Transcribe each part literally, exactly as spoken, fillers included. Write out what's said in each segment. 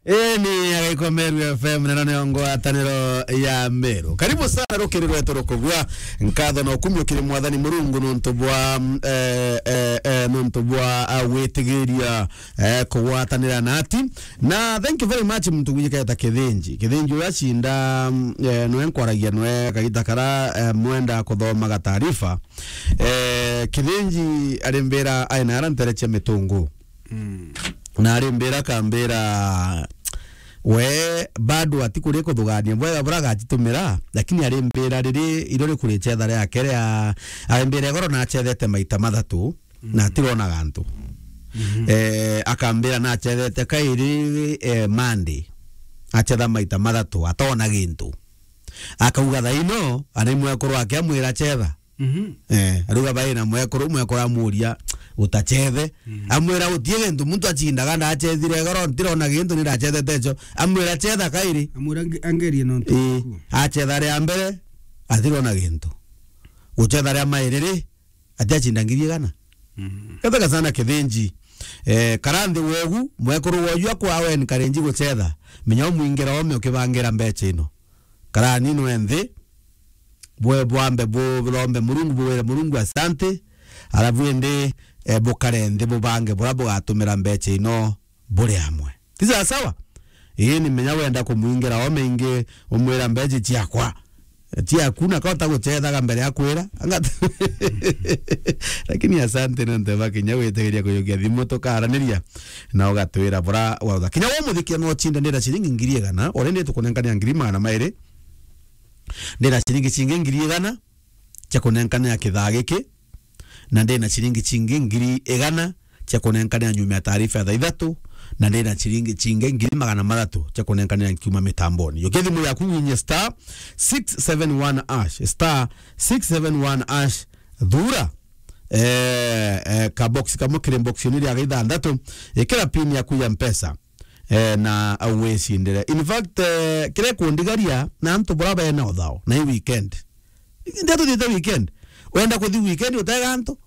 Ii ni Agaikwa Meru F M, na ino niyo ngwataniro ya Meru. Karibu sana rukiri rwetu rukubua. Nkatho na ukumio kiri Mwathani Murungu nontu bwa, mm, eh, eh, eh, nontu bwa, ah, gwitigiria, eh, kugwatanira nati. Na thank you very much muntu gwiketa Kithinji. Kithinji uria cinda, mm, eh, nwe nkwaragia nwe kagita kara, eh, mwenda kuthomaga taarifa. Eh, Kithinji arimbira aina ara ntere cia mitungu. Mm. Na arimbira akambira we bado atikuria kuthugania bwega buria agacitumira, lakini arimbira riri iro rikuri cetha riake ria, arimbira igoro na acethete maita mathatu, mm, na atirona gantu. Mhm. Eh, akambira na acethete kairi, eh, Monday, acetha maita mathatu, atona gintu. Akauga thaino, ana imwekuru ake amwira cetha. Mhm. Eh, aruga bai na mwekuru, mwekuru amuria, "Utacethe?" Mm. Amwira, "Utie gintu, muntu acindaga ndacethire igoro, ntirona gintu, ni ndacethete icio." Amwira, "Cetha kairi." Amwira, "Ange-, angerie nontu." Ii, bwaku. Acetha ria mbere, atirona gintu. Gucetha ria mairi ri, ati acinda ngiri igana. Mhm. Gathaga sana Kithinji. Eh, kara nthi wegu, mwekuru woju akwa awe encourage gucetha. Menya umwingira ome ukibangira mbeca ino. Karani nwe nthi, bwe bwambe bu-, bwombe Murungu, bwire Murungu asante, alafu indi, eh, bukare nthi bubange buria bugatumira mbeca ino buri amwe. Ti sawa sawa? Ii, ni menya wenda kumwingira ome ingi, umwira mbeca ciakwa. Ciaku na kota gucethaga mbere ya kwira. Anga-, lakini asante ni ntu bakinya gwitigiria kuyukia thimu tukaraniria na ugatwira bura wautha. Kinya we muthikia no cinde ndira ciringi ngiri igana, ore ndi tukunenkanira ngiri magana mairi. Ndira ciringi cingi ngiri igana cia kunenkanira kithaa giki, na ndina ciringi cingi ngiri igana cia kunenkanira nyuma ya taarifa ya thaa ithatu, na ndina ciringi cingi ngiri magana mathatu cia kunenkanira nkiuma mitamboni. Yukia thimu yaku winye star six seven one hash, star six seven one hash, thura, eh, eh, ka box kamwe kiri box ni ria ithantatu, ikira pin yaku ya Mpesa, eh, na au wicindire. In fact, eh, kiria kundigaria na antu bura bena uthao na i weekend. Ndia tuthiite weekend. Wenda kuthi weekend utega antu?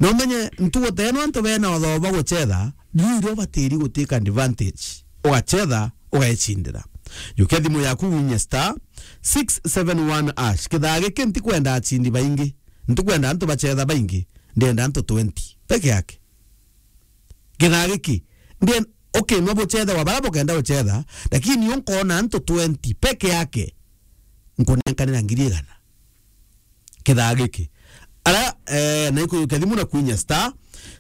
Na umenye ntugu teno antu bena uthao ba gucetha, riu irio ubatiri gutake advantage. Ugacetha, ugecindira. Yukia thimu yaku winye star six seven one hash. Kithaa giki ntikwenda acindi baingi. Ntikwenda antu bacetha baingi. Ndenda antu twenty peke yake. Kithaa giki, ndien-, okay, no bucethe wa bara bukenda gucetha, lakini unkona antu twenty peke yake nkunenkanira ngiri igana. Kithaa giki. Ara, eh, na ikuyukia thimu na kwinya star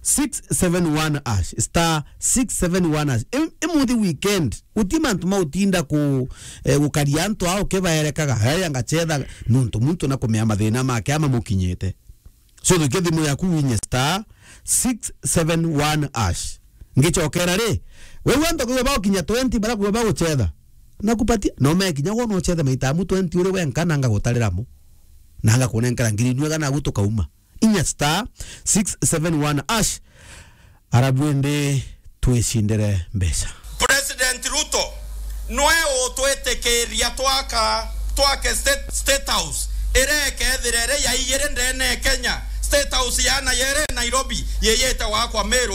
six seven one hash, star six seven one hash. Im-, imuthi weekend, uti mantu ma utinda ku, eh, gukaria antu ao kibaerekaga, haya ngacetha nuntu muntu na kumea mathina make ama mukinyite. So, thukia thimu yaku winye star six seven one hash. Ngicokera ri, wewe antu kuyo bagukinya twenty bara kuyo bagucetha. Nakupatia, no mekinya wona ucethe maita amu twenty uri wenka na ngagutarira mo. Na ngakunenkera ngiri inwe kana agu tukauma. Inya star six seven one hash. Arabu indi twicindire mbeca. President Ruto nwe utwitikiria twaka, twake State, State House iria ikethira iri ya ijiri ndene ya Kenya, State House ya na yere Nairobi yiyite wakwa Meru.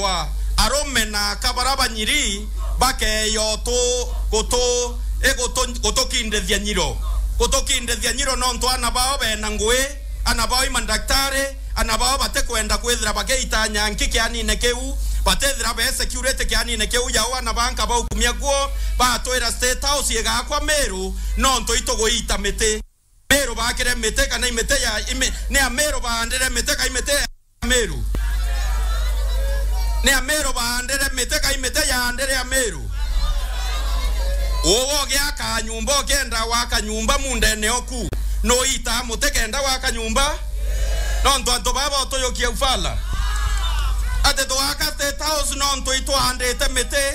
Arume na aka bara banyiri bakeya utu, gutu, igutu, gutukindithia nyiro, gutukindithia nyiro nontu ana bao bena ngui, ana bao i mandaktari, ana bao batikwenda kwithira bagiita nyanki kianine kiu, batithira be security kianine kiu yao, ana ba nka baukumia guo, batwira State House igakwa Meru, nontu ituguita miti. Meru bakire miti kana imiti ya imi-, ni Ameru baandire miti ka imiti ya Meru? Ni Ameru baandire miti ka imiti yaandire Ameru? Uwe ugiaka nyumba, ukienda waka nyumba mundene oku, nuitaa muti kenda waka nyumba? Nontu antu baba utuyukia ufala. Ati twaka State House nontu itwaandite miti.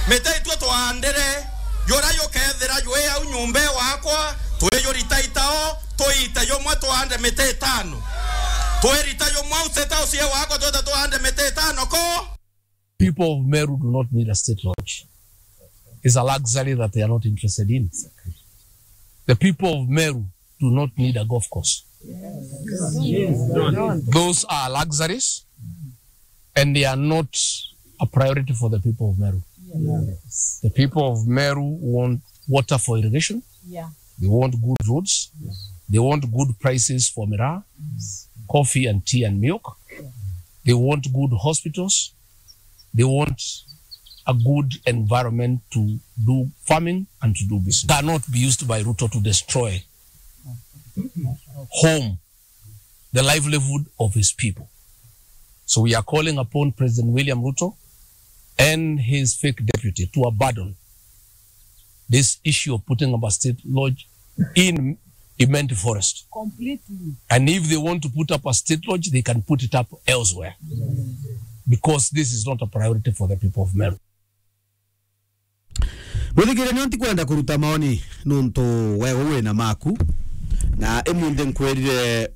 Miti itwe twaandire. Jura jukethira jwi au nyumba iwakwa, twiyurita itao, tuite jumwe tuande miti itano. Twirita jumwe au State House iwakwa, twite tuande miti itano ko. People of Meru do not need a state lodge. It's a luxury that they are not interested in. The people of Meru do not need a golf course. Those are luxuries and they are not a priority for the people of Meru. The people of Meru want water for irrigation. Yeah. They want good roads. They want good prices for miraa, coffee and tea and milk. They want good hospitals. They want a good environment to do farming and to do business. Cannot be used by Ruto to destroy home, the livelihood of his people. So we are calling upon President William Ruto and his fake deputy to abandon this issue of putting up a state lodge in Imenti Forest. Completely. And if they want to put up a state lodge, they can put it up elsewhere. Because this is not a priority for the people of Meru. Mwithikire, nio ntikwenda kuruta maoni nuntu wewe wina maku, na imunthi nkwirire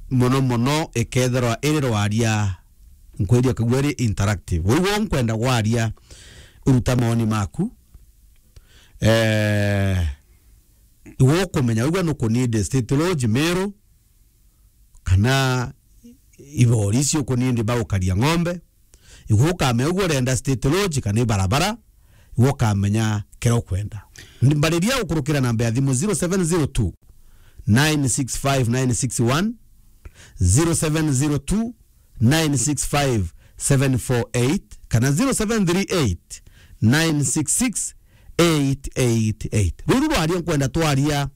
mono mono ikethirwa iri rwaria, nkwirire kagua iri interactive. Wigwo nkwenda gwaria, uruta maoni maku. Eh, iwe ukumenya, wigua nukunidi state lodge Meru, kana ibori icio ukunidi ba gukaria ng'ombe, iwe ukamenya uguo urenda state lodge kana ibarabara, iwe ukamenya kiria ukwenda. Mbariria gukurukira namba ya thimu zero seven zero two, nine six five, nine six one, zero seven zero two, nine six five, seven four eight, kana zero seven three eight, nine six six, eight eight eight. Ruru rwaria nkwenda twaria.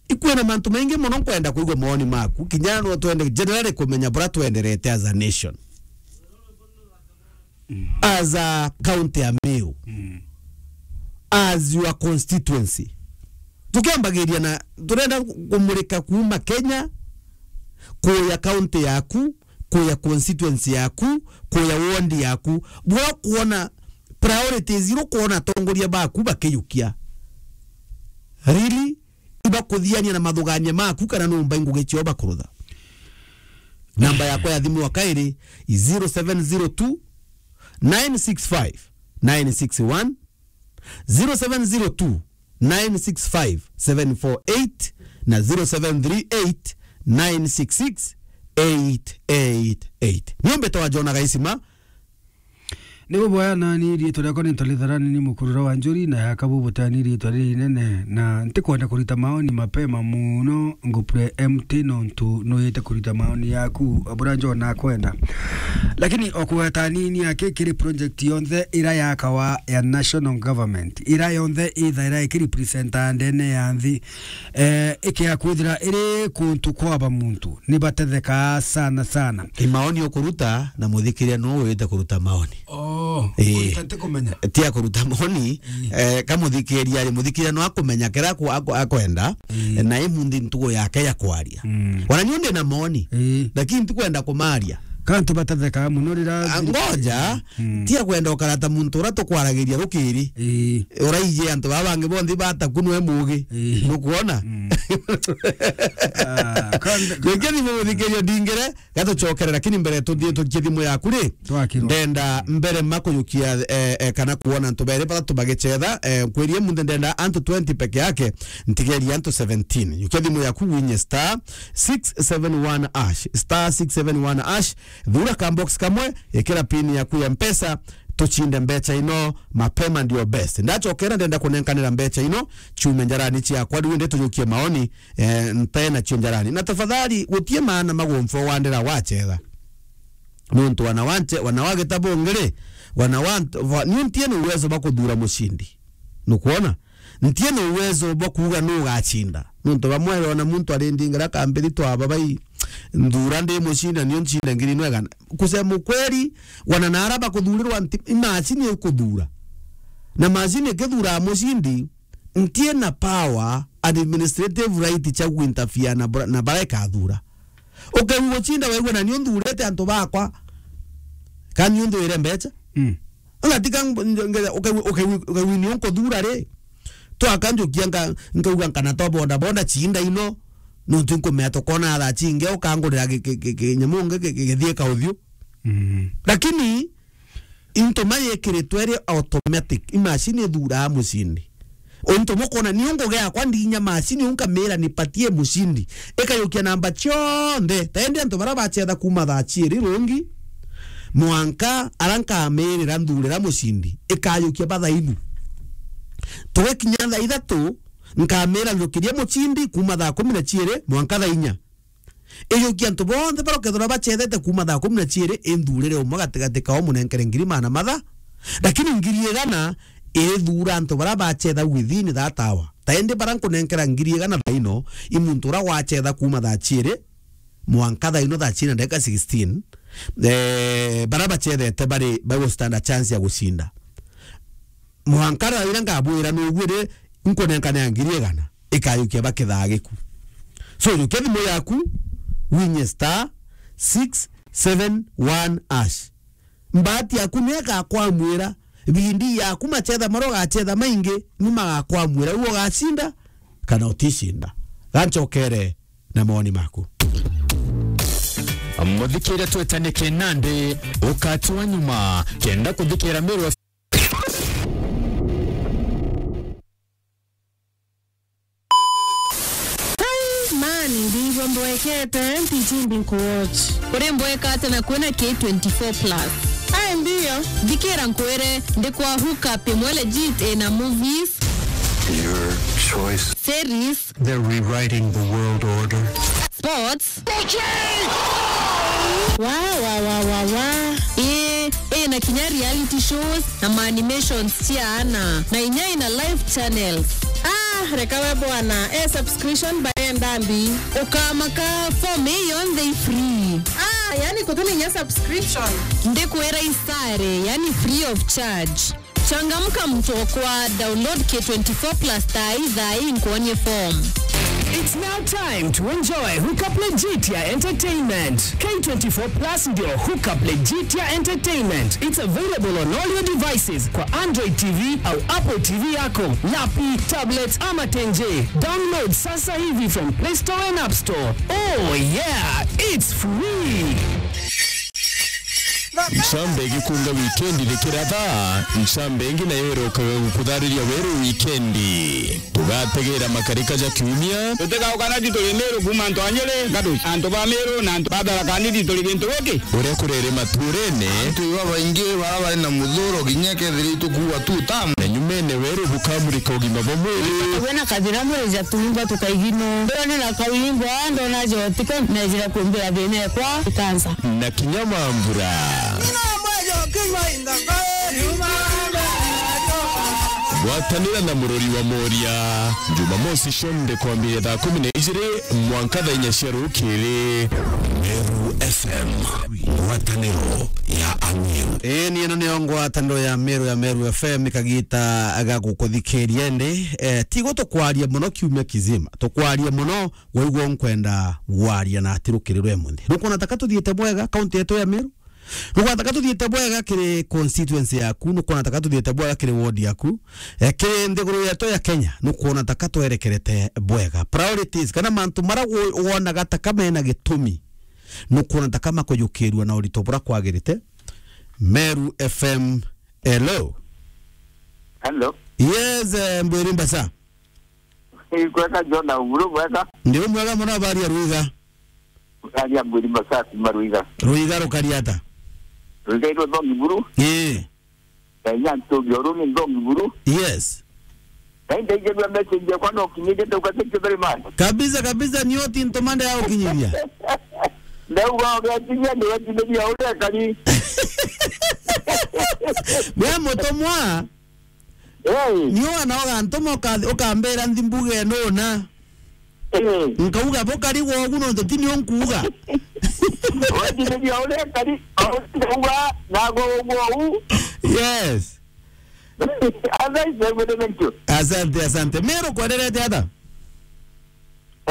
Ikwina mantu maingi mono nkwenda kwigua mawoni maku, kinya no twende generally kumenya bura twenderete as a nation. As a county ya Meru. As your constituency. Tukiambagiria na turenda kumurika kuuma Kenya, kuya county yaku, kuya constituency yaku, kuya ward yaku. Bura kuona priorities iria ukuona atongoria baku bakiyukia. Really? Ibakuthiania na mathugania maku kana numba ingugi cio bakurutha. Namba yakwa ya thimu ya kairi i zero seven zero two, nine six five, nine six one, zero seven zero two, nine six five, seven four eight na zero seven three eight, nine six six, eight eight eight. Niombe twa Jona Gaisima. Ni buboya nani riitwa riakwa ni Ntolitharani ni mukurura wa Njuri na yaka bubutani riitwa ririnene na ntikwenda kurita maoni mapema muno ngupre empty nontu nuyite kurita maoni yaku abura njo nakwenda. Lakini okugweta nini aki kiri project yonthe ira yakawa ya national government, ira yonthe ithaira ikirepresenta ndene ya nthi, eh, ikia kwithira iri kuntu kwaba muntu, ni batethekaa sana sana. I maoni ukuruta na muthikiria no wite kuruta maoni. Oh, ii. Kuruta ti kumenya. Ti a kuruta maoni, ii, eh, kamuthikiria ri, muthikiria no akumenya kira aku-, aku-, akwenda, ii, na imunthi ntugo yake ya kwaria. Mm. Wana nio ndi na maoni, ii, lakini ntikwenda kumaria. Kantu batethekaa muno rira. Ah, ngoja, mm, ti a kwenda ukarata muntu ura tukwaragiria rukiri. Ii. Uraiji antu baba bangi bonthe bataku nwe mugi. Ii. Nukwona? Mm. Ah, kanda- Gwikia thimu muthikirio ndingire, gatucokere, lakini mbere tuthie tukie thimu yaku ri. Twakirwa. Ndenda mbere ma kuyukia, eh, eh, kana kuona antu bere batatu bagicetha, eh, nkwirie munthe ndenda antu twenty peke yake, ntigeria antu seventeen. Yukia thimu yaku winye star six seven one hash, star six seven one hash, thura ka box kamwe, ikira pin yaku ya Mpesa, tuchinde mbecha ino mapema ndio best. Ndachokera ndenda kunenkanira mbecha ino, chume njarani chiakwa, riu indi tujukie maoni, eh, nte nacio njarani. Na tafadhali, gutie maana magumfo wandira wachetha. Nontu wana wanche, wana wa gitabo ngiri, wana wa nt-, wa-, niu ntie na uwezo bwa kuthura mushindi. Nukwona? Ntie na uwezo bwa kuuga nu ugachinda. Nontu bamwe ona muntu ari ndingira kambiri twaba bai nthura ndi mushindi, na niu nchinde ngiri nwegana. Kusema ukweli, wana na ara bakuthurirwa nti-, imashini ikuthura. Na mashini ikithuraa mushindi, ntie na power, administrative right cia kuinterfere na bra-, na bara ikathura. Ukaigua guchinda waigua na niu nthurite antu bakwa, ka niu nthuire mbecha. Mm. Ngatika ng-, nge-, ukaigua, ukaigua, ukaigua niu nkuthura ri, twaka njukia nka-, nkauga nkana twa boda boda chinda ino, nontu nkumea tukona thaa chingi ukangurira ki-, ki-, ki-, kinyamu ngi ki-, ki-, githie kauthiu. Mm. Lakini into ma yekiritwe iri automatic, imashini ithuraa mushindi. Untu bukona niu ngugi yakwa ndinya mashini unkamira nipatie mushindi. Ikayukia namba cionthe. Tendi antu bara bachetha kuma thaa ciiri rungi, mwanka ara nkamirira nthurira mucindi, ikayukia bathainu. Tugikinya thaa ithatu, nkamira njukirie mucindi kuuma thaa kumi na ciiri mwanka thaa inya. Iyukia antu bonthe baria ukethirwa bacethete kuuma thaa kumi na ciiri, inthurire umwe gatigati kao, munenkere ngiri maana matha, lakini ngiri igana irithuura antu baria bacetha within that hour. Ta indi baria nkunenkera ngiri igana thaa ino, i muntu uria wacetha kuuma thaa ciiri mwanka thaa ino thaa ciiri na ndagika sixteen, eh, baria bacethete bari, bagustand a chance ya gucinda. Mwanka thaa iria ngabwira nuguo ri, nkunenkanea ngiri igana, ikayukia bakithaa giku. So, yukia thimu yaku, winye star six seven one hash. Mbati yaku ni igakwamwira, bindi yaku macetha maria ugacetha maingi, ni magakwamwira, uu ugacinda kana uticinda. Gancokere na mawoni maku. Muthikire twetane kinandi, ukati wa nyuma, kenda kuthikira Meru F M. Hey, man, ndivyo mbwekete, mpiji ndi nkuwatch. Uri mbwekate na kwina K twenty-four plus. Ai, ndio. Thikira nkwire, ndi kwa hookup imwe legit ina movies. Your choice. Series. They're rewriting the world order. Sports. Wa, wa, wa, wa, wa. Ii, ina kinya reality shows na ma animations cia ana. Na inya ina live channels. Ah, reka we bwana. Eh, subscription barenda mbi. Ukamaka, form ii yonthe i free. Ah, yani kutuni inya subscription. Ndikwira isare, yani free of charge. Changamka mtokwa, download K twenty-four plus thaa ii, thaa ii nkuonie form. It's now time to enjoy Hookup Legitia Entertainment. K twenty-four plus ndio Hookup Legitia Entertainment. It's available on all your devices kwa Android T V au Apple T V yako, lapi, tablet ama tenje. Download sasa hivi from Play Store and App Store. Oh yeah, it's free. Ncambe igikunga wikendi rikiratha, ncambe ingi nayo irokaga gukuthariria weru wikendi. Tugategera makarika ja kiumia. Tutigauka na tituri Meru kuuma antu a Nyeri, Gaduci, antu ba Meru na antu ba Tharaka Nithi turi gintu giki. Uria kurere maturene. Antu babaingi bara bari na muthuro, kinya kethira itukuua tu tamu. Na nyumene weru bukamurika ugima bwa mwiri. Wina kathira mwiri ja tuimba tukaigino. Ndona na kauimba, ndona jotiko, nejira kumbira thina ekwa ikansa. Na kinya mambura. Gwatanira na murori wa Moria, Jumamosi cionthe kwambiria thaa kumi na ijiri mwanka thaa inya cia rukiri. Meru F M, ngwataniro ya Amiru. Ii, ni ino niyo ngwataniro ya Meru ya Meru F M, ikagita ga gukuthikiria indi, eh, tigo tukwaria muno kiumia kizima, tukwaria muno waigua nkwenda gwaria na ati rukiri rwa imunthi. Nukwona taka tuthiite bwega kaunti yetu ya Meru? Nukwona taka tuthiite bwega kiri constituency yaku? Nukwona taka tuthiite bwega kiri ward yaku? Eh, kiri nthiguru yetu ya Kenya, nukwona taka twerekerete bwega? Priorities, kana mantu mara wo-, wonaga taka mena gitumi, nukwona taka makujukirua na urito bura kwagirite? Meru F M, hello. Hello. Yes, eh, Mbwiri Mbasa. Ikwega John Auguru, bwega. Ndi umwega muno, habari ya Ruiga? Habari ya Mbwiri Mbasa, kuma Ruiga. Ruiga rukari ata? Ruiga irwe thongi buru. Ii. Kenya ntugi oru ni thongi buru. Yes. Na indaigirua message yakwa no kinyithie ndauga thank you very much. Kabisa, kabisa, ni oti ntumande ya ukinyithia. Ndauga ugekinyia, ndiwekinyithia uria kari. We mutumwa, Hey. Ni wana ugantuma uka-, ukambira nthi mbuge nuna. Hey. Nkauga bukari gwogu nontu ti nio nkuuga. Wetithia uria kari, ndauga nago gwogu. Yes. Asante, thank you. Asante, asante. Meru kwenderete ata?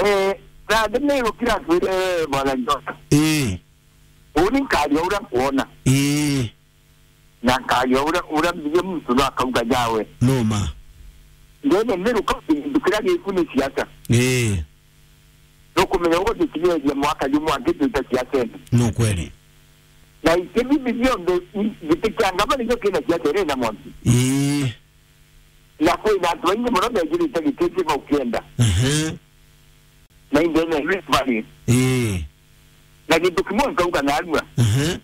Eh, na ndio Meru kira kwire bwana Jota. Eh. Uni nkaria uria nkuona. Eh. Na nkaria uria, uria mbige muntu no akauga jawe. Numa. Ndene Meru kaunti gintu kiria giku ni siasa. Ii. Nukumenya uguo tutigeria mwaka jumwe angi twita siasene. Ni ukweli. Na itemi bionthe i-, giti kia ngavana nikio kina siasa iri na mwanki. Ii. Na kwina antu baingi muno mejirite giti kio ukienda. Ehe. Na indene Rift Valley. Ii. Na gintu kimwe nkauga narua. Ehe.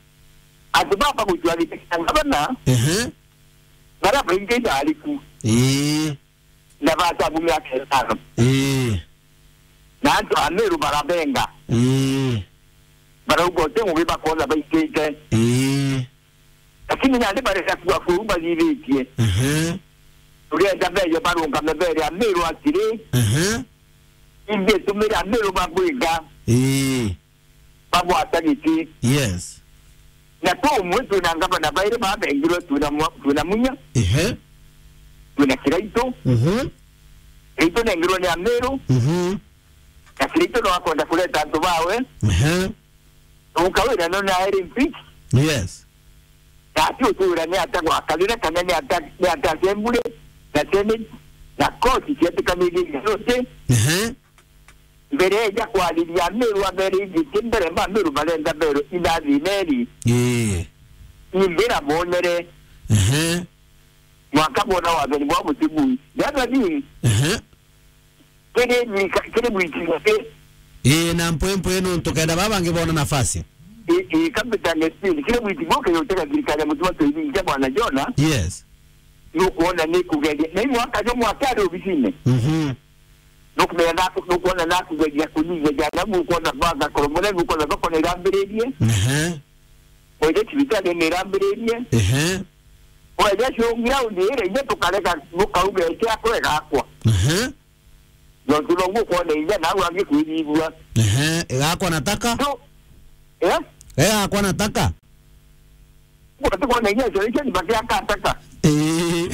Antu baba gucua giti kia ngavana, ehe, baria baingi ndariku. Ii. Na batabu miaka itano. Ii. Na antu a Meru barabenga. Ii. Barauga uti ngugi bakona baitite. Ii. Lakini nandi barenda kua kuu bathithitie. Ehe. Turenda beyo barungame bere a Meru atiri. Ehe. Imbi tumire a Meru babwinga. Ii. Babwata giti. Yes. Na tu umwe twina ngavana bairi babengirwe, twina mwa-, twina Munya. Ehe. Twina Kiraitu. Mhm. Kiraitu nengirwe ni a Meru. Mhm. Na Kiraitu no akwenda kureta antu bawe. Ehe. Ukawira no na eri impeach. Yes. Na ati utwira ni ata gwakarire kana ni ata, ni ata assembly na senate na court ciatikanirie githuti. Ehe. Mbere ya kwariria Meru abere igiti mbere ma Meru barenda bero inathi neri. Ii. Imbira bonere. Ehe. Mwaka bona wathani bwa mutibu. Dada ni. Ehe. Kiri wika-, kiri wiki giti. Ii, na mpwe mpwe nontu kenda baba bangi bona nafasi. Ii, ii, kabita ngesini. Kiri wiki giti gutega thirikari ya mutima tuiringia bwana Jona. Yes. Nukuona ni kugeria. Na imwe akaja mwaka ari obisine. Mhm. Nukumenya naku-, nukuona nakugeria kunyinyagia na nukuona banga koromore, nukuona thoko ni irambiririe. Ehe. Oire cibitari ni irambiririe. Ehe. Oire showground ire inya tukareka nukauga eke akwe gakwa. Ehe. Nontu no gukuona inya nawe angikwirigua. Ehe, igakwa nataka? Tu-, eh? Igakwa nataka? Tukuona inya isolation bakiaka ataka. Ii.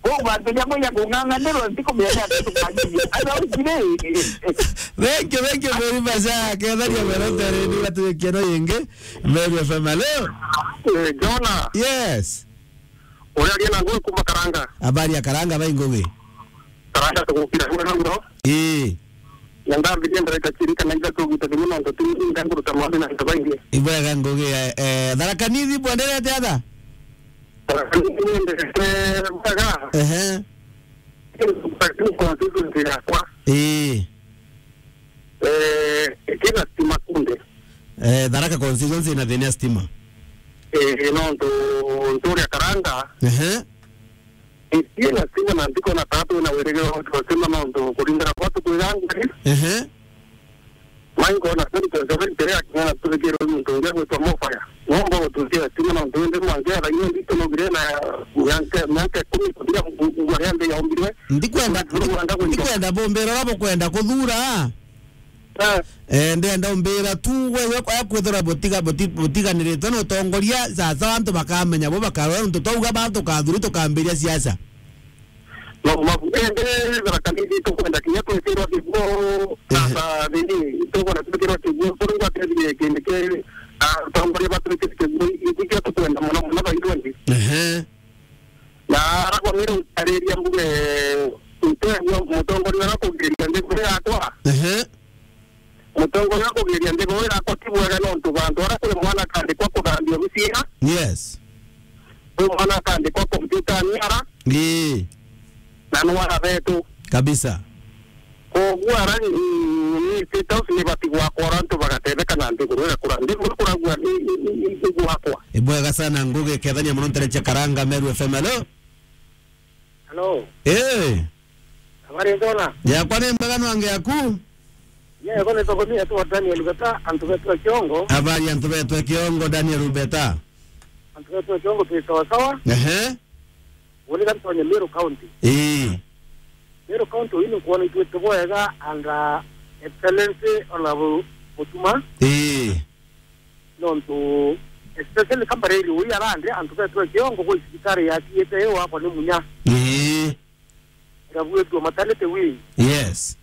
Kwa bantu nya kunya kung'ang'anirwa ntikumenya ati tukanyinyi. Ana ukire. Thank you, thank you very much. Ah, kethania mwerete rindi gatuikeno yingi. Meru F M, hello? Eh, Jona. Yes. Uria aria na Ngugi kuma Karanga. Habari ya Karanga, bai Ngugi? Karanga tugukira kuria na uro. Ii. Na ndambirie ndareka chiri kana ithatu gita thimu nontu ti nda nguruta maombi na antu baingi. Ibwega Ngugi, eh, eh, Tharaka Nithi bwenderete atha? Tharaka Nithi bwenderete bwega. Ehe. Lakini constituency yakwa. Ii. Eh, kina stima kunde. Eh, Tharaka constituency ina thina ya stima. Eh, nontu nturia Karanga. Ehe. Itie na stima na ntiko na tatu na wirigiro wa stima nontu kuringana kwa tukwigangari. Ehe. Mai nkona senti seven tere akinya na tuthikirwe muntu ungi gwitwa Mofaya. Nomba gututhia stima nontu indi mwangi athainye ndito nogire na mianke, mianke ikumi kuthira ngwa ria nthi yaumbirwe. Ndikwenda, Ngwa ndi-, anga gwitwa ndikwenda bumbira uria bukwenda kuthura. Eh. Eh, ndenda umbira tu we, we kwa kwithira butiga, buti-, butiganirite na utongoria, sasa antu bakamenya bo bakarora ntu twauga ba tukathuri tukambiria siasa. No, mabu-, eh, eh, Tharaka Nithi tukwenda kinya twikirwa kiguo, ehe, sasa nini, tukwenda twikirwa kiguo, kuri ngwatethire kindi ki, ah, utongoria batwikire kiguo, ikikia tukwenda muno muno baithuendi. Ehe. Na aragwa mire utariria mbuge, ntegua mutongoria uria kugiria nthiguru yakwa. Ehe. Mutongoria kugiria nthiguru yakwa ti bwega nontu bantu aria kuri mwana akandikwa kuthambia obisi ira. Yes. Kwi mwana akandikwa kompyutani ara. Ii. Na nwara betu. Kabisa. Koguo ara, mm, ni State House ni bati gwakwa ora antu bagatetheka na nthiguru igakura. Nthiguru ikuragua ni, ni, ni, ni, ni gwakwa. Ibwega sana Ngugi, kethania muno ntere cia Karanga, Meru F M. Hello? Hello. Eh. Habari njona? Yakwa ni mbega, nwange yaku? Yego ni tokomia tu Daniel Beta, antu betu a Kiongo. Habari antu betu a Kiongo, Daniel Beta? Antu betu a Kiongo twi sawa sawa. Ehe. Uni kantonye Meru County. Ii. Meru County uyu ni nkuona itwite bwega and, uh, Excellency Honorable Mutuma. Ii. Nontu, especially Kambariri uyu arandi antu betu a Kiongo gwi cibitari yatiite yo akwa ni Munya. Ii. Irabwitwe maternity wing. Yes.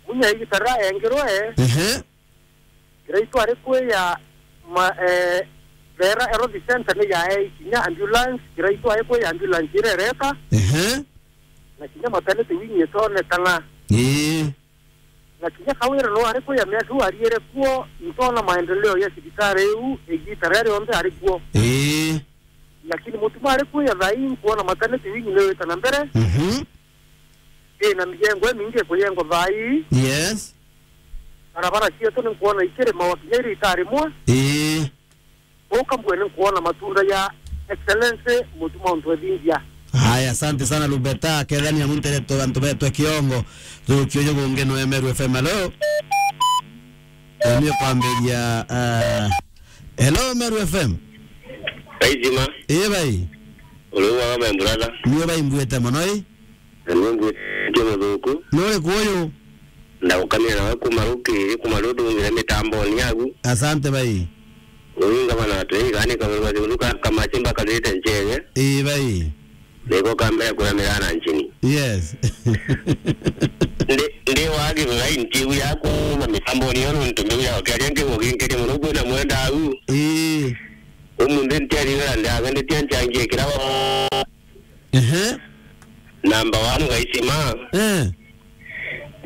Munya igita riria yengirwe, ehe, Kiraitu ari kwi ya ma-, eh, Beera Health Center ni yae kinya ambulance, Kiraitu ari kwi ya ambulance irereta. Ehe. Na kinya maternity wing itonekana. Ii. Na kinya Kawira no ari kwi ya miaka iu ariere kuo, ntona maendeleo ya cibitari iu, igita riria rionthe ari kuo. Ii. Lakini Mutuma ari kwi ya thaa ii, nkuona maternity wing ni wita na mbere. Mhm. Ii, na mijengo imingi ikujengwa thaa ii. Yes. Barabara cietu ni nkuona ikirimawa kinya iri itarimwa. Ii. Uka mbwene nkuona matunda ya Excellency Mutuma Ntwethingia. Haya, asante sana Lubeta, kethania muntu eretwe antu betwe kiongo. Tukio yo gungi no Meru F M, hello. Ni kwambiria, ah, hello Meru F M. Kaisima. Ii bai. Uri uga my brother. Ni bai mbuite mono ii. Na ni mbuite muthuku. Nuri kuyu? Ndagukamia nawe kuma rukiri, kuma rudungire mitamboni yagu. Asante bai. Uyu ngavana watu, ii gani karuga thiundu ka, kamachimba karite nchege. Ii bai. Niko kambere kuramira na nchini. Yes. Ndi, ndi wa Githurai ntigu yaku na mitamboni yo nuntu mbiu ya ukiaria nkigo ginkiri muno kwina mwenda au. Ii. Umunthi ntiarigara ndagendetie nchangie kira wa Ehe. Namba one Gaisima. Eh.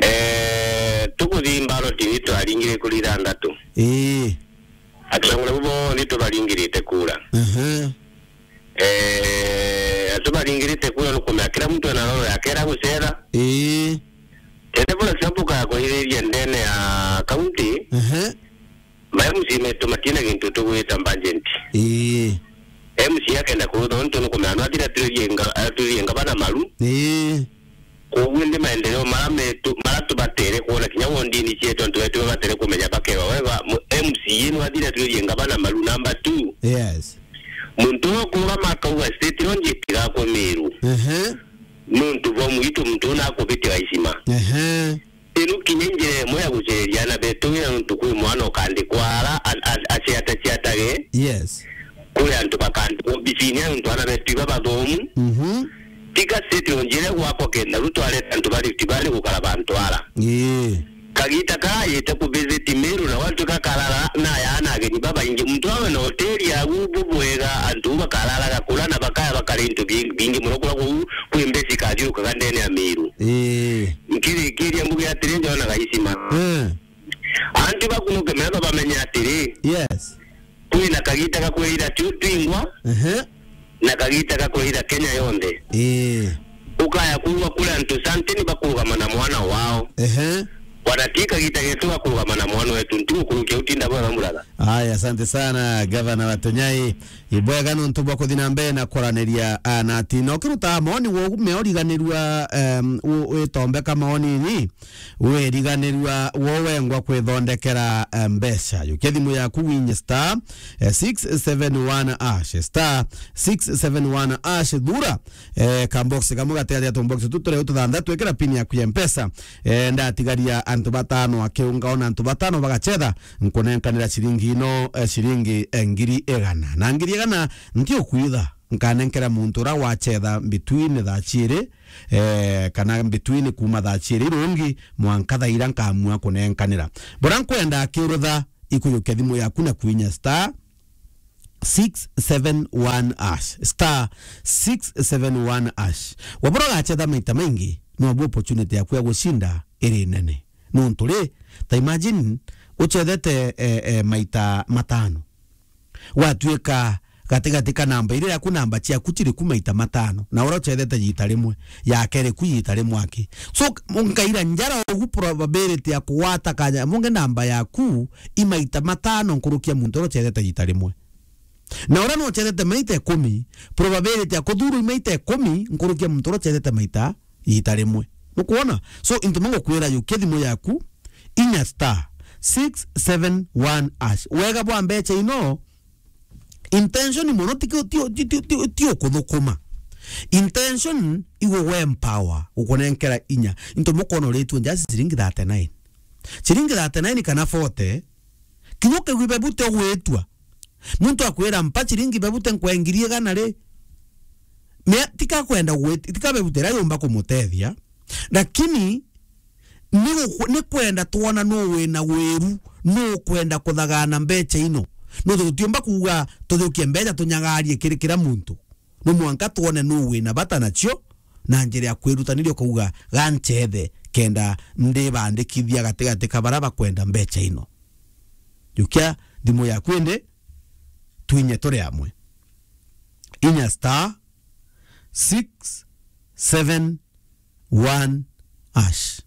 Eh, tukuthii mbaroti ni twaringire kuri ithanthatu. Ii. Atongore bonthe tubaringirite kura. Ehe. Eh, tubaringirite kura nukumea kila muntu ena roro yake era gucera. Ii. Tete bura cia mbuka ya kuhiriria ndene ya kaunti. Ehe. Ma M C A metu matina gintu tugwita budget. Ii. M C A akenda kurutha untu nukumea no athira atwiririe nga-, atwiririe ngavana maru. Ii. Koguo indi maendeleo mara metu, mara tubatere kuona kinya wondini cietu antu betu babatere kumenya bakewa wega, mu-, M C A no athira atwiririe ngavana maru. Number two. Yes. Muntu ukurama akauga state lounge itigakwe Meru. Ehe. Nuntu bomu itu muntu una akubitia Gaisima. Ehe. Riu kinya njira imwe ya gucereria aana betu wira nuntu kwi mwana ukandikwa ara a-, a-, aciataciatage. Yes. Kuri antu bakandikwa obisini ya nuntu aana betu iba bathomu. Mhm. Tiga state lounge iria gwakwa kenda riu twareta antu ba Rift Valley gukara bantu ara. Ii. Kagita kayite ku visit Meru na watu kakarara na yaana ageni babaingi. Muntu awe na hoteli yagu bubwega, antu bakararaga kura na bakaya bakara into bi-, bingi muno kura kuu kwi mbeca ikathiurukaga ndene ya Meru. Ii. Nkirikiria mbuge atiri, njona Gaisima. Eh. Antu bakunuke metho bamenye atiri. Yes. Kwina kagita ga kwirira tu twingwa. Ehe. Na kagita ga kwirira Kenya yonthe. Ii. Ukaya kuuga kuri antu santini bakurugama na mwana wao. Ehe. Wana ti kagita getu ga kurugama na mwana wetu. Nti gukurukia utinda bwega muraga. Aya, asante sana, Gavana wa Tunyai. Ibwega nontu bwa kuthi na mbere na kwaraniria, ah, na ati no kiruta maoni wo meoriganirua, em, u-, witombeka maoni ni wiriganirua wo wengwa kwithondekera, eh, mbeca. Yukia thimu yaku winye star, eh, six seven one hash, star six seven one hash, thura, eh, ka box kamwe gatigati ya tubox tu turia tuthanthatu, ikira pin yaku ya Mpesa. Eh, ndatigaria antu batano akiunga ona antu batano bagachetha, nkunenkanira ciringi ino, eh, ciringi, eh, ngiri igana. Na ngiri igana ntiukwitha, nkanenkera muntu uria wachetha between thaa ciiri, eh, kana between kuma thaa ciiri irungi mwanka thaa iria nkamua kunenkanira. Bura nkwenda akiurutha, ikuyukia thimu yaku na kwinya star six seven one hash, star six seven one hash. Wabura ugachetha maita maingi, nobu opportunity yaku ya gucinda iri nene. Nontu ri, ta imagine uchethete, eh, eh, maita matano. Gwatuika gatigati ka namba iria yaku, namba ciaku ciri ku maita matano, na uria uchethete yita rimwe, yake iri ku yita rimwe aki. So, nkaira njara ugu probability ya kugwata kanya munge namba yaku i maita matano nkuruki ya muntu uria uchethete yita rimwe. Na uria no uchethete maita ikumi, probability ya kuthurwa i maita ikumi nkuruki ya muntu uria uchethete maita yita rimwe. Nukwona? So, into mango kwira yukia thimu yaku, inya star six seven one hash. Wega bwa mbeca ino, intention mono ti ku-, ti, ti, ti, ti, ti ukuthukuma. Intention igugwe empower, gukunenkera inya. Into mukono ritwe nja ciringi thirty-nine. Ciringi thirty-nine kana forty, kinya ukigwi bebute ugwitua. Muntu akwira, "Mpa ciringi bebute nkwe ngiri igana ri." Mea, tika kwenda gwit-, tika bebute ira yumba kumutethia. Lakini ni guku-, ni kwenda twona nu wina wiru, nu ukwenda kuthagana mbeca ino. Nontu tutiumba kuuga tuthukie mbeca tunyagarie kiri kira muntu. No mwanka twone nu wina bata nacio, na njira ya kwirutaniria ukauga, "Ga nchethe kenda ndibandikithia gatigati ka bara bakwenda mbeca ino." Jukia thimu yaku indi, twinye turi amwe. Inya star six seven one hash.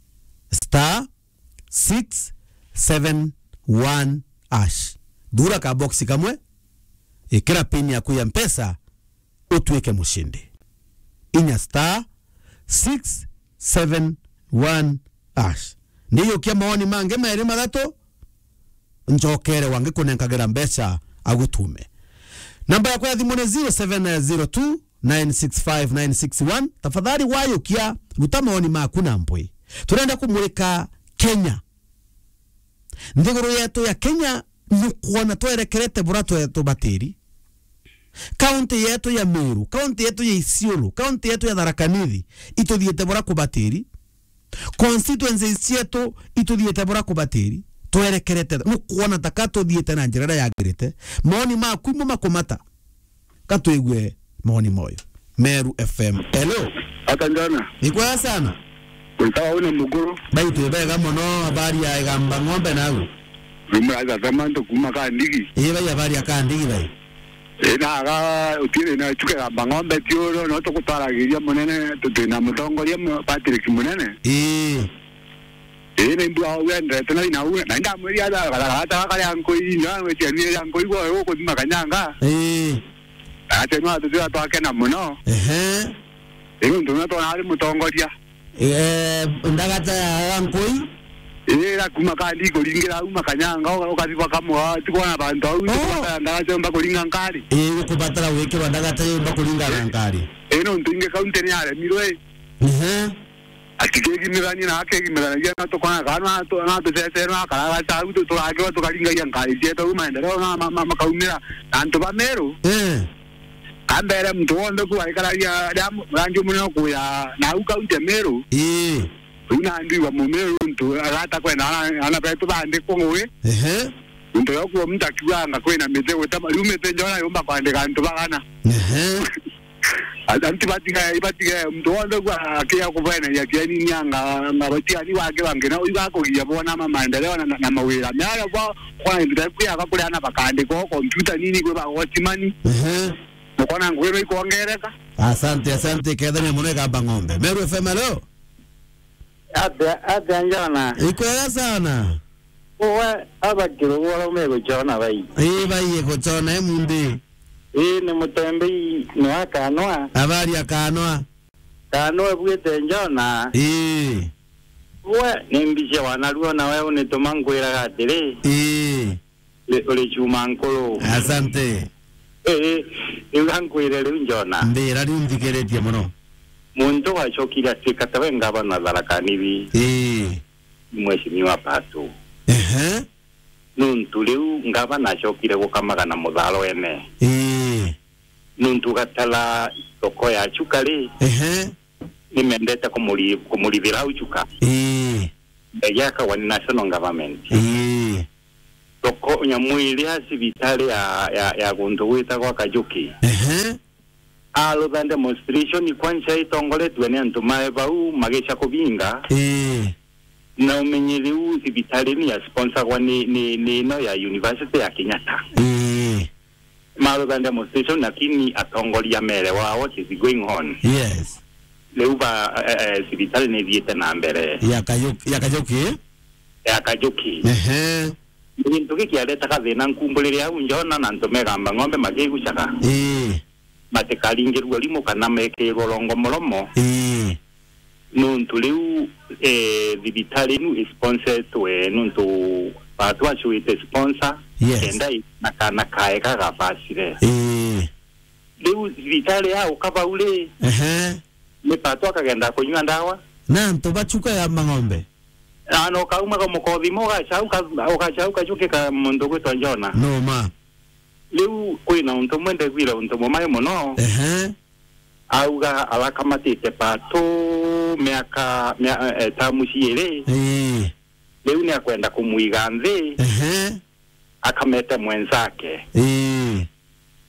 Star six seven one hash. Thura ka box kamwe, Ikira pin yaku ya Mpesa, utuike mushindi. Inya star six seven one hash. Ndijukia maoni mangi mairi mathatu, njokere wangi kunenkagira mbeca agutume. Namba yakwa ya thimu ni zero seven zero two nine six five nine six one. Tafadhali wayukia, ruta maoni maku na mpwi. Turenda kumurika Kenya. Nthiguru yetu ya Kenya nukwona twerekerete bura twe-, tubatiri. Kaunti yetu ya Meru, kaunti yetu ya Isiolo, kaunti yetu ya Tharaka Nithi, ituthiite bura kubatiri. Constituencies cietu ituthiite bura kubatiri. Twerekerete, nukwona ta ka tuthiite na njira iria yagirite. Maoni maku imwe makumata. Ka twigue maoni moyo. Meru F M. Hello. Ata njana? Ni kwega sana. Witawa una mukuru. Bai, twi bega mono, habari ya Igamba Ng'ombe nau? Rumura za Samanto kuma Kandigi. Ii bai, habari ya Kandigi bai? Ii, naga utire na chuka Igamba Ng'ombe tiuro, no tukutwaragiria munene, tu-, twina mutongoria mu-, Patrick Munene. Ii. Ii, ni mbua au endete na ina u, na ndamwiria aja, kara, kara, kara, kari ankui, nya, weti arwire ankui, gwe, gukuthima kanyanga. Ii. Ati no atuthira twakena muno. Ehe. Ii, ntu na twona ari mutongoria. Eh, ndagata ya ankui? Ii, ira kuma kandi kuringira au makanyanga, uka-, ukathi bakamwa, ti kwona bantu au, oh, ndagata, ndagata yomba kuringa nkari. Ii, gukubatara gwikirwa ndagata yomba kuringa na nkari. Ii, nontu ingi kaunti ni yaremirwe. Ehe. Akigigimithania na akigimithanagio na tukona kana na tu-, na tucecero na karagaca au tu-, turagirwa tukaringagia ngari cietu au maendeleo na ma-, ma-, makaumira na antu ba Meru. Eh. Kambere muntu wonthe ku aikaragia ria mu-, rangi munene kuya na au kaunti ya Meru. Ii. Riu nandi igwa mumiru ntu agata kwenda ana, ana betu bandikwo ngugi. Ehe. Ntu yo kuo muntu akiuganga kwina miti gutema, riu miti njona yumba kwandika antu bagana. Ehe. Antu batiga, ibatiga muntu wonthe kwa akia kubeneria kieni nyanga, nga batia ni wake bangi na uiga kugia bona ma maendeleo na, na, na mawira. Mea bo kwa ndio kuya ga kuria na bakandika o computer nini kwa ba watchman. Ehe. Mukona ngugi no ikongereka. Asante, asante, kethania muno Igamba Ng'ombe. Meru F M, hello. Atia, atia njona? Ikwega sana. Uwe, aba kirugu araume guchona bai. Ii, bai guchona, e mundi. Ii, ni mutembei, ni wa kanwa. Habari ya kanwa? Kanwa bwite njona. Ii. Uwe, ni mbicia wanaruo na we unituma nkwiraga atiri. Ii. Ri-, uri chuma nkuru. Asante. Ii, riu ga nkwire riu njona. Mbira riu nthikiritie muno. Muntu wacokire atuika tawe ngavana Tharaka Nithi. Ii. Mheshimiwa Pato. Ehe. Nuntu riu ngavana acokire gukamaga na mutharo ene. Ii. Nuntu gatara thoko ya Chuka ri, ehe, nimendete kumuri-, kumurithira au Chuka. Ii. Ndege akagwa ni national government. Ii. Thoko, nyamu iria cibitari ya, ya, ya guntu gwitagwa Kajuki. Ehe. Arutha demonstration kwanza itongoretue ni antu mae bau magica kubinga. Ii. Na umenye riu cibitari ni ya sponsagwa ni, ni, ni ino ya University ya Kenyatta. Ii. Marutha demonstration lakini atongoria mere wa what is going on. Yes. Riu ba, eh, eh, cibitari ni ithiite na mbere. Ya Kajuki, ya Kajuki? Ya Kajuki. Ehe. Gintu giki aretaga thina nkumburire au njona na antu megamba ng'ombe makigucaga. Ii. Matikaringirua rimu kana mekirwa rongo muromo. Ii. Nuntu riu, eh, thibitari inu isponsetwe nuntu batu acuite sponsor, yes, kenda i-, na kana kae kagabacire. Ii. Riu thibitari ya ukabau ri, ehe, ni batu akagenda kunyua ndawa. Na antu bachuka ya mang'ombe. Na no kauma ga mukothimo ugacauka, ugacauka Kajuki ka muntu gwitwa Njona. No ma. Riu kwina untu umwe ndegwire untu mumai muno. Ehe. Auga arakamatite Pato miaka, mia-, eh, tamu ciiri. Ii. Riu ni akwenda kumwiga nthi. Ehe. Akamete mwenzake. Ii.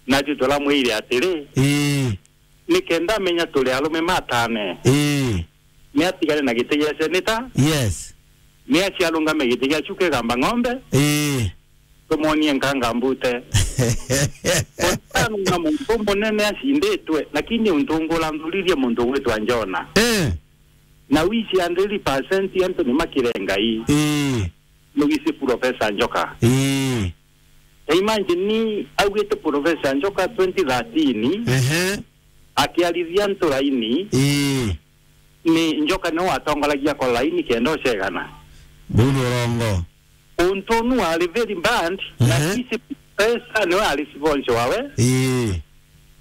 Natwi turamwire atiri, ii, nikenda amenya turi arume matane. Ii. Ni atigane na giti gia seneta. Yes. Ni aciarungame giti gia Chuka Igamba Ng'ombe. Ii. Tumonie nkanga mbute. Mutano na muntu munene acinditwe, lakini untu ngura nthuririe muntu gwitwa Njona. Eh. Na wici hundred percent antu ni makire Ngai. Ii. Mugisi Professor Njoka. Ii. Na imagine ni augite Professor Njoka twenty thirteen, Ehe. akiarithia antu laini, Ii. ni Njoka niwe watongoragia kwa laini kenda ucegana. Buu ni urongo. Untu unu wari very bad, na Ehe. isi Professor niwe ari sponsor wawe. Ii.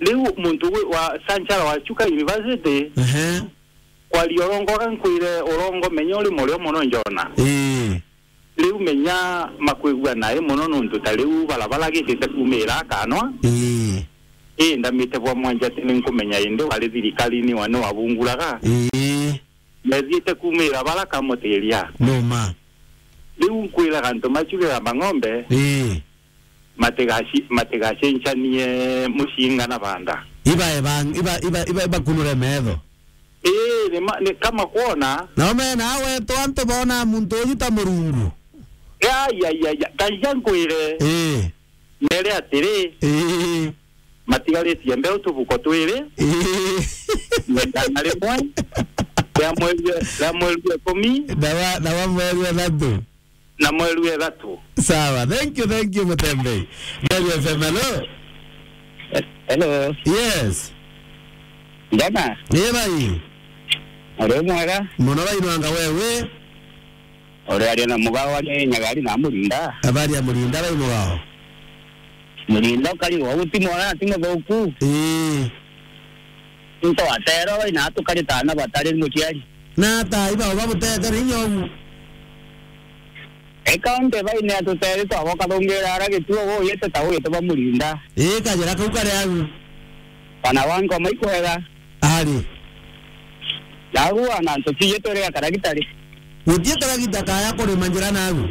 Riu muntu wi-, wa Sanchara wa Chuka University, Ehe. kwaria urongo, ga nkwire urongo, menya uri murio mono njona. Ii. Riu menya makwigua nae mono nontu ta riu barabara gitite kumira akanwa. Ii. Ii, ndamite bwa mwanja ati ni nkumenya indi wari thirikarine wa ni wabunguraga. Ii. Methiite kumira bara kamutiria. Numa. Riu nkwiraga antu machugira mang'ombe. Ii. Matigaci-, matigacenchanie mucinga na banda. Iba ebang-, iba, iba, iba, ibakunure metho. Ii, ni ma-, ni kama kwona. Nao mena awetu antu bona muntu uyu ta murungu. Ya, ya, ya, ya. Kaija nkwire. Ii. Mere atiri. Ii. Matigaritie mbeu tubuko twiri. Ii. Igana rimwe. Ria mweri, ria mweri wa ikumi. Na wa, na wa mweri wa ithatu. Na mweri wa ithatu. Sawa, thank you, thank you, Mutembei. Meru F M, hello. Hello. Yes. Njana. Ii, bai. Uri mwega? Mono bai, nwanga wewe. Uri aria na mugao ari Nyagari na Murinda. Habari ya Murinda, bai mugao? Murinda ukari wa guti mwega na ti muthuku. Ii. Into atero bai na tukari tana batari muciari. Na ata iba uba butete rinya ugu. Eka onte baine atuteri twaboka thungira ara gituo guyite ta guyite ba Murinda. Ii, kajira kau kari agu. Bana wa ngoma ikwega. Ari. Nagu ana ntuciye turi akaragitari. Gutie karagita kaya kurima njira nagu.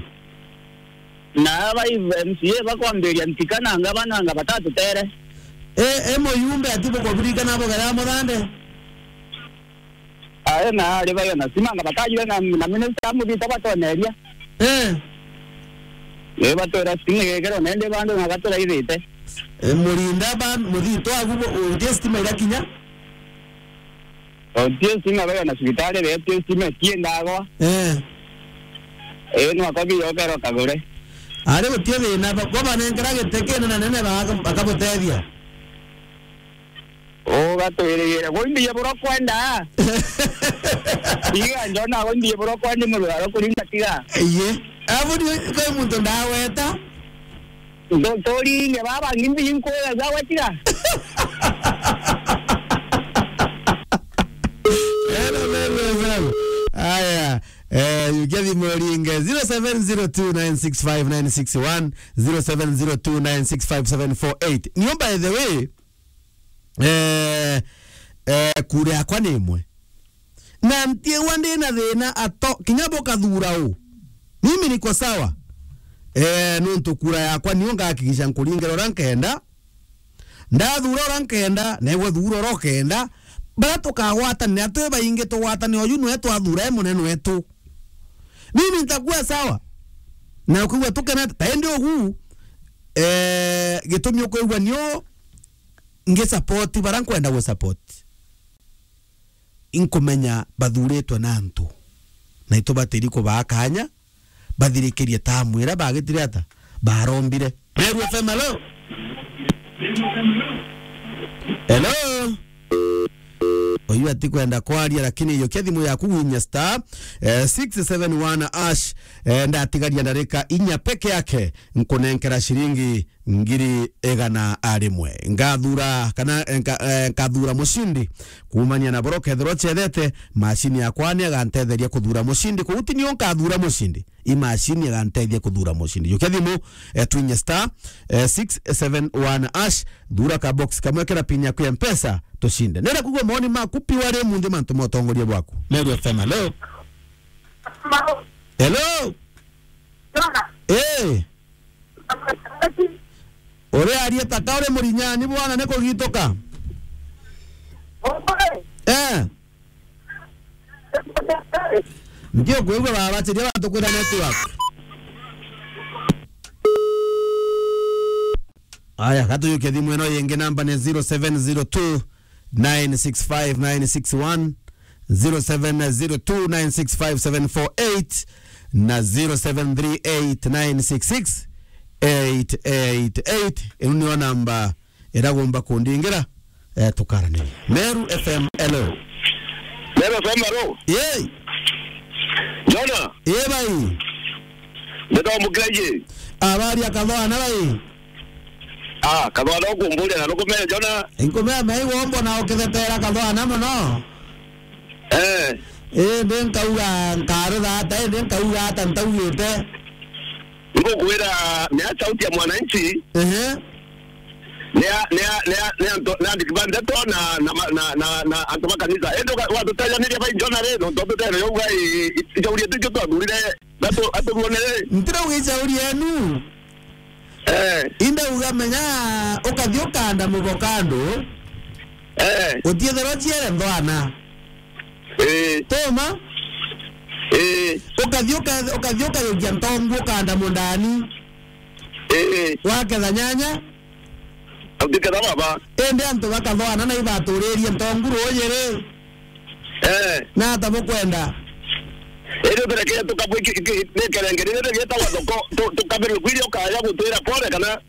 Na aba M C A bakwambiria ntika na ngabana nga batatutere. E, e muyumbe ati bukuririkana bugera muthande. Ae na ari bayo na sima nga batajire na, na minister amuthita batoneria. Eh. Ni batwira stima igekero nende bandu na baturaithite. Eh, Murinda ba muthito agu bo, utie stima irakinya? Utie stima bayo na cibitari, be utie stima tiendagwa. Eh. Eh, no akobi yokero kagure. Ari utie thina, ba, kwa banenkera giteke na nene ba, bakabutethia. Ugatwirigire. Gwe imbie buro kwenda. Iga njona gwe imbie buro kwenda murwaro kuringa tiga. Iye. Abu ni kwa muntu ndaweta. Ndo-, turinge baba ngimbi inkwira gwa tiga. Hello, Meru F M. Aya, eh, yukia thimu ringe zero seven zero two nine six five nine six one, zero seven zero two nine six five seven four eight. Nio, by the way, eh, eh, kura yakwa ni imwe. Na ntiigua ndi na thina ato, kinya bukathura u. Mimi niko sawa. Eh, nuntu kura yakwa nio ngahakikisha nkuringira uria nkenda. Ndathura uria nkenda, negwe thura uria ukenda. Baria tukagwatanira twi baingi, tugwatanire uyu nwe twathura e munene wetu. Mimi nitakuwa sawa. Na ukigua tukenete, ta indi ugu, eh, gitumi ukwigua nio ngi support baria nkwenda gu support. Inkumenya bathuritwe na antu, na itubatiri kubaa kanya bathirikirie tamu iria bagitire ata barombire. Meru F M, hello? Hello? Uyu atikwenda kwaria, lakini yukia thimu yaku winya star, eh, six seven one hash, eh, ndatigaria ndarika inya peke yake, nkunenkera ciringi ngiri igana rimwe. Ngathura kana, eh, nka-, eh, nkathura mucindi. Kuumania na buria ukethirwa ucethete, macini yakwa ni agantetheria kuthura mucindi. Kwou ti nio nkathura mucindi. I macini iganteithia kuthura mucindi. Yukia thimu, eh, twinye star, eh, six seven one hash, thura ka box kamwe, kira pin yaku ya Mpesa, tucinde. Nenda kugua moni maku piu ari munthi mantu ma utongoria bwaku. Meru F M, hello? Hello? Eh. Uri arie taka uri murinyani bwana, ni kugituka. Eh. Ndio kwigua baba, chiria bantu kwira network. Aya, gatuyuke thimu ino yingi, namba ni zero seven zero two nine six five nine six one, zero seven zero two nine six five seven four eight na zero seven three eight nine six six eight eight eight. Ino niyo namba iragomba kundingira, eh, tukaranirie. Meru F M, hello. Meru F M, hello. Yey. Jona. Ye bai. Ndeta mukiraje. Habari ya Kathwana bai? Ah, Kathwana ukumburia na nukumenya Jona. Inkumenya mai wombo na ukithetera Kathwana muno. Eh. Eh, ndi nkauga nkarutha ata, eh, ndi nkauga ata ntaugite. Ngukwira, ni ya sauti ya mwananchi. Ehe. Ni ya, ni ya, ni ya, ni ya nto-, ni andiki ba ndeto na, na, na, na, na antu ba kanisa. Indi uka-, watutejaniria bai Jona ri, nontu tutene yauga i, i, icauri yetu ikio twathurire, atu-, aturuone ri. Ntirauga icauri yenu. Eh. Inde uga menya ukathi ukanda muboka andu. Eh. Utiethirwa ciere nthwana. Eh. Toma? Eh. Ukathi uka-, ukathi ukayukia ntongu ukanda mundani. Eh. Waketha nyanya. Utiketha baba. Indi antu bakathwana na ibaturirie ntongu ruuji ri. Eh. Na ata bukwenda? Indi uturekere tukabu iki, iki, ni kerengere, ni gitagwa thoko, tu-, tukabirwe kwiria ukaya gutwira pole kana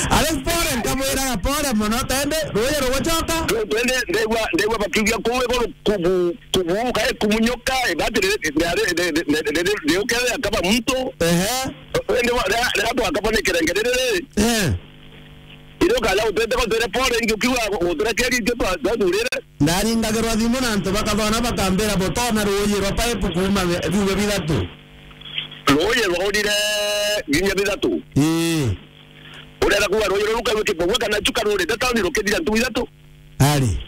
Ari pole, nkamwiraga pole mono, tende, ruuji rugucoka. Tu-, twende, ndegwa, ndegwa bakiugia kuu iguru kubu, kubu, kae kumunyuka, ibati ri-, ri-, ri-, riukethia kaba muntu. Ehe. Indi wa-, ria, ria twakaba ni kerengere riri. Eh. Iri ukaja gutwite gutwire pole, ingi ukiuga guturekeria itio twa-, twathurire. Ndaringagirwa thimu na antu bakathwana bakambira butona ruuji rwa pipe kuuma bi-, biugo bithatu. Ruuji rwaurire vinya bithatu. Ii. Urenda kuuga ruuji ruu rukaigua kibogua kana chuka rurite tauni rukithira ntugu ithatu? Ari.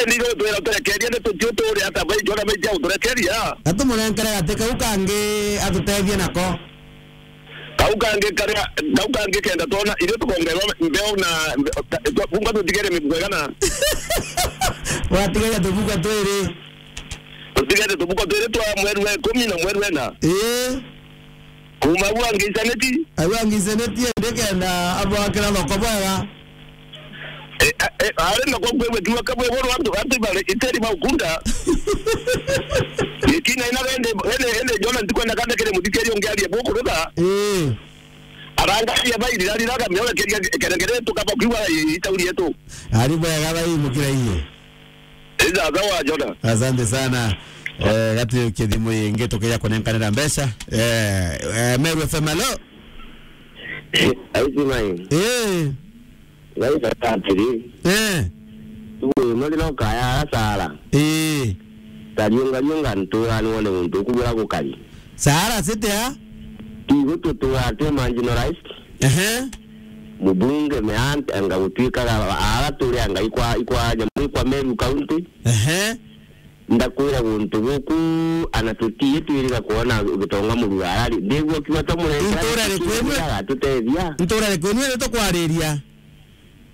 Indi ithui twira turekerie ni tutiu turi ata bai Jona bai cia guturekeria. Atumurenkere gati kau kangi atutethie nako. Kau kangi karia, kau kangi kenda twona, ithui tukongerwa mbeu na mbe-, ta-, twa-, bunga tutigere mibuko igana? Watigaria tubuko twiri. Tutigere tubuko twiri twa mweri wa ikumi na mweri wa ina. Ii. Kuuma au angicaniti? Au angicaniti, indi kenda abwakira thoko bwega. E, a, e, ari na kwa kwigua kiuga kabwe iguru antu, antu bari iteri baukunda. Ikina ina ende, ende, ende Jona ntikwenda kanda kiri muthikiri ungi arie bukuruga. Ii. Arangaria bairira riraga miona keria kerengere tukaba kiuga i-, itauri yetu. Ari bwega bai mukira iye. Ija, sawa, Jona. Asante sana. Eh, gati kithimo ingi tukija kunenkanira mbeca. Eh, eh, Meru F M, hello? Aisi mai. Eh. Ngai bata atiri. Eh. Tuwe, no ndino kaya ara Sara. Eh. Tariunga riunga ntura ni wone muntu ukugura gukari. Sara site a? Tigo tutura twe marginalized. Ehe. Mubunge meant anga gutwikaga ara turi anga ikwa, ikwa nyamu ikwa Meru County. Ehe. Ndakwira guntu guku, ana tutii twirira kwona gitonga murugara ri. Ndigua kiuga twa murengera. Ntura ri kwenu? Gatutethia. Ntura ri kwenu ri tukwariria?